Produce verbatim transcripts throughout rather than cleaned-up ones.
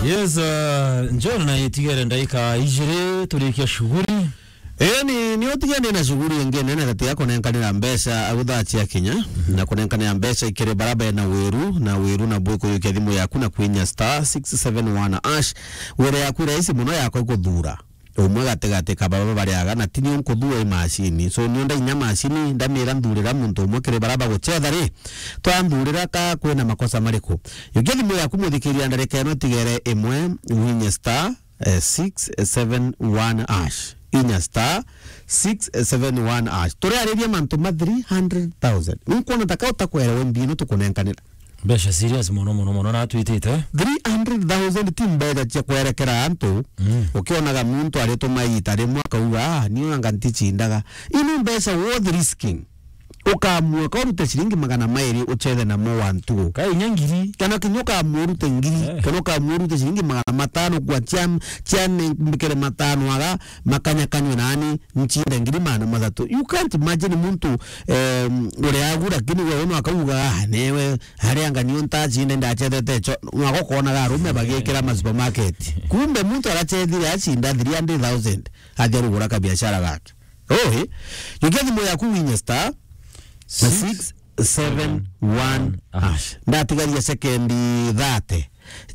Yes, uh, John, na itigere ndaika ijiri turikia shughuli. Eni, ni utige ndina shughuli ingi nene tati ya kunenkanira mbeca aguthachi ya Kenya, na kunenkanira mbeca ikiri bara bena wiru, na wiru na bwi kuyukia thimu yaku na kwinya star six seven one hash. Wire yaku iraisi muno yakwa ikuthura umwe gatigati ka baba bariaga, na ti nio nkuthua i macini. So, nio ndainya macini, ndamira nthurira muntu umwe kiri bara bagucetha ri, twanthurira ka kwina makosa mariku. Yukia thimu yaku muthikiria ndarika ino tigere imwe, winye star, eh, six seven one hash. Inya star six seven one hash. Turiariria mantu ma three hundred thousand. Nkwona taka utakwerewe mbinu tukunenkanira. Mbeca serious mono, mono, mono, na twitite. Three hundred thousand ti mbeca cia kwerekera antu. Mm. Ukionaga muntu arituma ita rimwe akauga, "Ah, niu anga nticindaga." Inu mbeca worth risking. Ukamua ka urute ciringi magana mairi uchethe namo wa ntugu. Ka inya ngiri. Kana kinya ukamua urute ngiri, eh, kana ukamua urute ciringi magana matano kwa cia, cia ne-, mbikire matano aga, makanyakanywe nani, ncinde ngiri magana mathatu. You can't imagine muntu, em, uria agu, lakini we uno akauga, "Ah, newe, aria anga niu ntacinde ndacethete cho." Mwaka ukonaga arume bagikira ma supermarket. Kumbe muntu aracethire acinda three hundred thousand, athi arugura kabiashara gake. Oi, yukia thimu yaku winye star six seven one hash. Ndatigaria sekendi thirty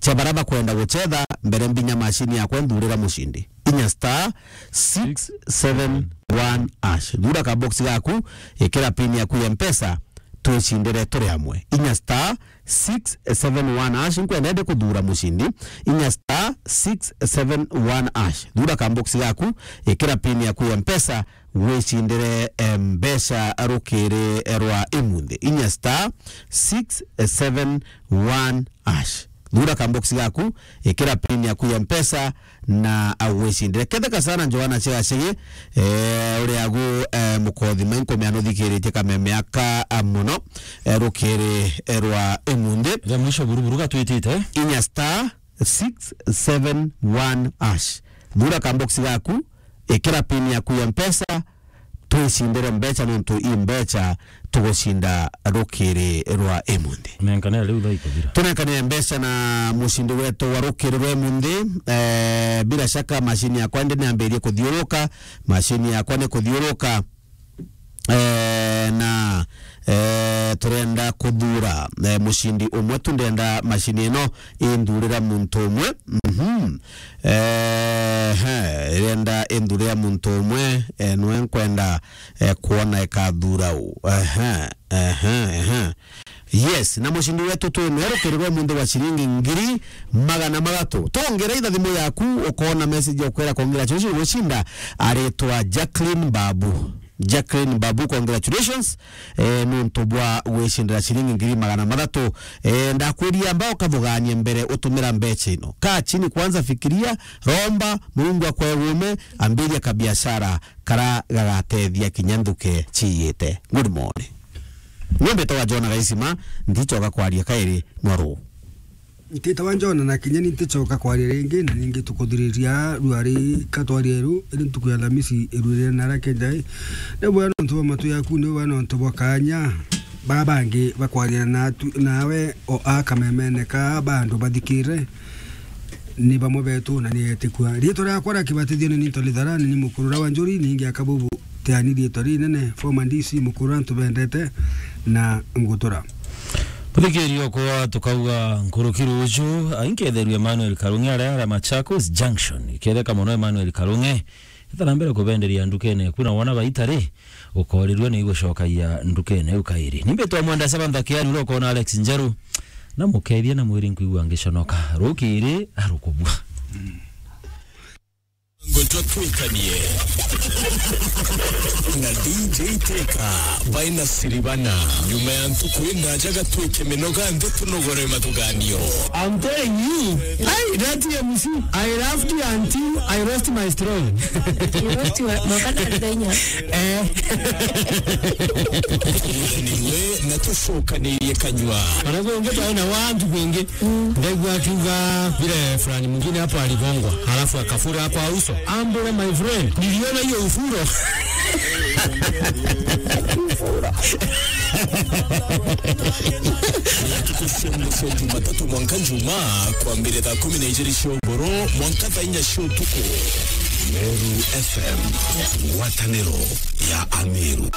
cia bara bakwenda gucetha mbere mbinya macini yakwa nthurira mucindi. Inya star six seven one hash. Thura ka box gaku, ikira pin yaku ya Mpesa, twicindire turi amwe. Inya star six seven one hash, nkwenda ndi kuthura mucindi. Inya star six seven one hash. Thura ka box gaku, ikira pin yaku ya Mpesa, wicindire, eh, mbeca rukiri rwa imunthi. Inya star six seven one hash. Thura ka box gaku, ikira pin yaku ya Mpesa, na agwicindire. Ketheka sana Joanna Chigachigi, eh, uria agu, eh, mukothi mai nkumea nuthikiritie kameme aka, ah, muno, eh, rukiri, eh, rwa imunthi. Ria mwisho buruburu gatwitite. Inya star six seven one hash. Thura ka box gaku, ikira pin yaku ya Mpesa, twicindire mbeca nontu i mbeca tugucinda rukiri rwa imunthi. Nenkanire riu thaa ikuthira. Tunenkanire mbeca na mucindi wetu wa rukiri rwa imunthi. Eh, bila shaka macini yakwa ndi niambirie kuthiuruka, macini yakwa ni kuthiuruka. Eh, na, eh, turenda kuthura, eh, mucindi umwe tu, ndenda macini ino inthurira muntu umwe. Mhm. Eh, he, irenda inthurira muntu umwe, eh, nwe nkwenda, eh, kuona ikathura u. Ehe, ehe, ehe. Yes, na mucindi wetu twi mwe rukiri rwa munthi wa ciringi ngiri magana mathatu. Tongera itha thimu yaku, ukona message ya kwira congratulations, gucinda aritwa Jacqueline Babu. Jacqueline Babu, congratulations, eh, nuntu bwa gwicindira ciringi ngiri magana mathatu. Eh, ndakwiria amba ukathuganie mbere utumira mbeca ino. Kaa chini kwanza, fikiria, romba, Mungu akwe uume, ambiria kabiashara kara gagatethia kinya nthuke ciiyite. Good morning. Ni mbitawa Jona Gaisima, ndichoka kwaria kairi nwaru. Ntitawa Jona na kinya ni ntichoka kwaria ringi, na ningi tukuthiriria ruari katwarie ru, iri ntuku ya Alhamisi iruire na rake njai. Ni bwega nontu bwa matu yaku, ni bwega nontu bwa kanya. Baa bangi bakwaria na tu, nawe o a kamemene ka bandu bathikire. Ni bamwe betu na ni etikua. Riitwa riakwa ria kibatithio ni Nito Lithara, ni ni mukurura wa Njuri, ningi akabubu teani riitwa rinene, former D C mukurura ntubendete na ngutura. Muthikiria okwa tukauga nkuruki ruju, ainketherua Emmanuel Karungi aria aria Machakos Junction. Iketheka mono Emmanuel Karungi, etha na mbere kubenderia ndukene eku, na wona baita ri, ukorirua ni igucokagia ndukene iu kairi. Ni mbitwa Mwenda Samantha Kiari, uria ukona Alex Njeru, na mukethia na mwiri nkwigua ngiconoka. Rukiri arukubua. Ngotwa twikanie na D J Teka baina siribana. Nyuma ya ntuku indaja gatwike minoga nthi tunogore mathuganio. I'm telling you, I, that M C, I laughed until I lost my strong. You lost your, no, kana ndenya. Eh. Niwe na tucokanirie kanyua. Wanakuwa wengine twaona watu wengi. Ndaigua akiuga vile fulani mwingine hapo aligongwa, halafu akafura kwa uso. Ambule, my friend, niliona hiyo ufuro. Ntuku cia mwiso Jumatatu mwanka Njumaa, kwambire thaa kumi na ijiri cia uburu mwanka thaa inya cia utuku. Meru F M, ngwataniro ya Ameru.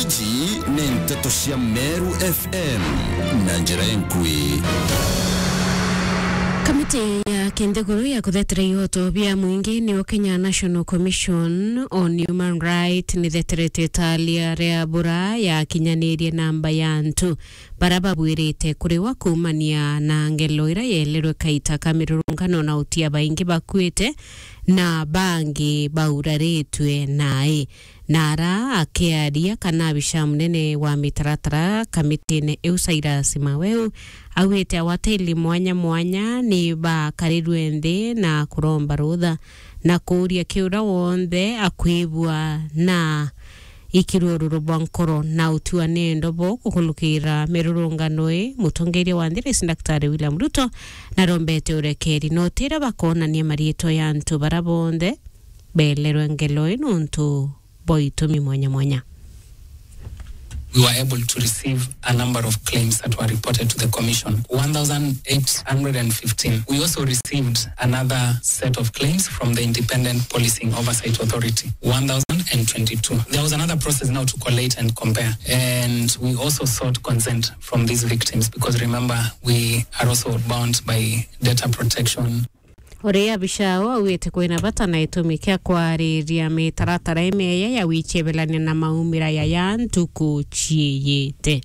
Iji ni nteto cia Meru F M na njira inkui. Kamiti ya kinthiguru ya kuthetera ihoto bia mwingi niyo Kenya National Commission on Human Rights nitheterete italia ria bura yakinyanirie namba ya antu bara babwirite kuriwa kuumania na ngelo ira yeelerwe kaita ka mirurungano na utia baingi bakuite na bangi bauraritue nai. Na ara akiaria kana abisha munene wa mitaratara kamitine iu Cyrus Maweu augite awateli mwanya mwanya ni bakarirwe nthi na kuromba rutha na kuuria kiura wonthe akwibua na ikirururo bwa nkoro na utua ni ndobo kukulukira mirurungano ii. Mutongeria wa nthi rais Daktari William Ruto narombete urekeri na utira bakonania mariitwa ya antu bara bonthe beelerwe ngelo ii nontu bwa itumi mwanya mwanya. We were able to receive a number of claims that were reported to the Commission, one thousand eight hundred and fifteen. We also received another set of claims from the Independent Policing Oversight Authority, one thousand and twenty-two. There was another process now to collate and compare, and we also sought consent from these victims because, remember, we are also bound by data protection. Uria abisha au augite kwina bata na itumi kia kwariria mitaratara imeya ya wichebelania na maumira ya ya ntuku ciiyite.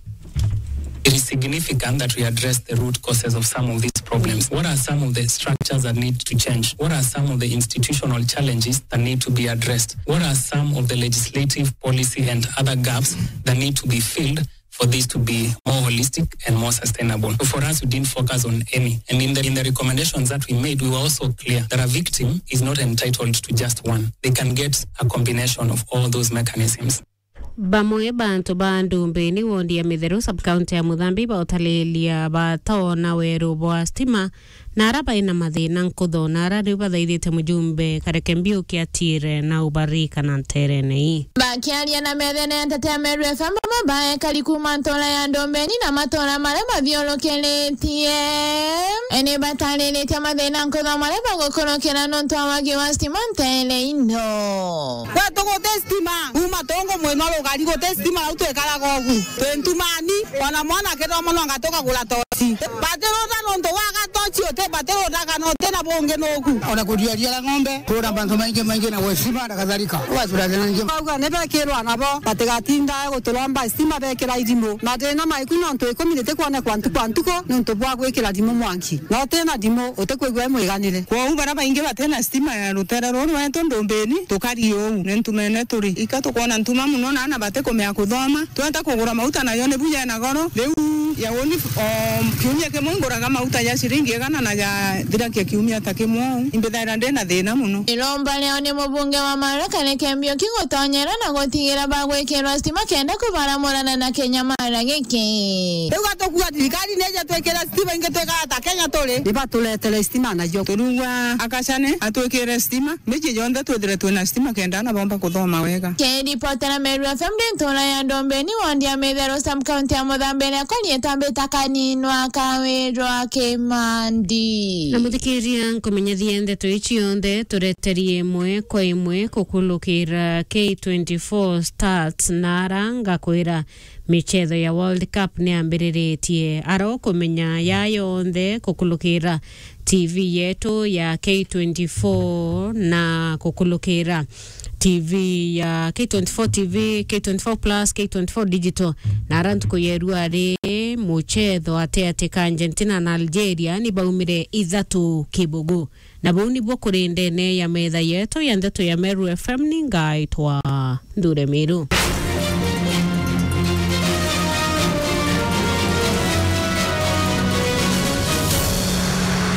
It is significant that we address the root causes of some of these problems. What are some of the structures that need to change? What are some of the institutional challenges that need to be addressed? What are some of the legislative, policy and other gaps that need to be filled for this to be more holistic and more sustainable? So for us, we didn't focus on any. And in the, in the recommendations that we made, we were also clear that a victim is not entitled to just one. They can get a combination of all those mechanisms. Bamwe bantu ba Ndumbini, wondi ya Mitheru, sub-county ya Muthambi, bautalilia batoona weru bwa stima na ara baina mathina nkutho, na ara riu bathaithite mujumbe Kareke Mbiuki atiire na ubarika na nterene ii. Bakiaria na methene ya Ntetea Meru F M, bamwe baekari kuuma ntura ya Ndumbini na matura maria mathiurukiritie, ni batariritie mathina nkutho maria bagukurukira nontu wa wagi wa stima ntere ino. Gwetu guti stima, kuuma tungu mwino rugari guti stima, rau twikaraga ugu. Twi ntumani, ona mwana akithoma no anga tukagura toci. Batiruta nontu wa gatoci uti batiruta kana uti na bungi nuku. Ona kuriaria ng'ombe, kura mantu maingi maingi na gwe stima na kadhalika. Ugatura thina ingi. Bauga ni bekirwa nabo, batigatinda guturomba stima bekira irimu. Mathina maiku nontu ikumi nitikwonekwa ntuku a ntuku nontu bwa gwikira rimu mwanki. Na uti na rimu, utikwigua i mwiganire. Kwou bara baingi bati na stima ya rutere ruru rwetu Ndumbini, tukari uu, ni ntumene turi. Ika tukwona ntuma mono na ana batikumea kuthoma. Twenda kugura mauta nayo ni buya ena goro. Riu ya uni, o kiumia kimwe nguraga mauta ya ciringi igana na ya thirakia kiumia ta kimwe uu. Imbithaira ndi na thina mono. Iromba riao ni mubunge wa Marekani Kareke Mbiuki gutonyera na gutigira bagwikirwa stima kenda kubaramurana na kinyamara giki. Riu gatukua thirikari nije twikire stima ingi twikara ta Kenya turi. Ni baturetere stima nayo. Turugwa akacane atwikire stima. Miji yonthe twithire twina stima kenda ana bomba kuthoma wega. Kiripotera Meru F M ndi ntura ya Ndumbini, wondi ya Mitheru, sub-county ya Muthambi, na kori itambita kaninwa kawirwa Kimandi. Na muthikiria, nkumenyethia ndeto ici yonthe tureterie imwe kwa imwe kukulukira K twenty-four Stats na ara ngakwira michetho ya World Cup niambiriritie. Ara ukumenya ya yonthe kukulukira T V yetu ya K twenty-four na kukulukira T V ya K twenty-four T V, K twenty-four Plus, K twenty-four Digital. Na ara ntuku yeru ari muchetho ati ati ka Argentina na Algeria ni baumire ithatu kibugu. Na bau nibuo kuri ndene ya metha yetu ya ndeto ya Meru F M, ni ngaitwa Nthure Miru.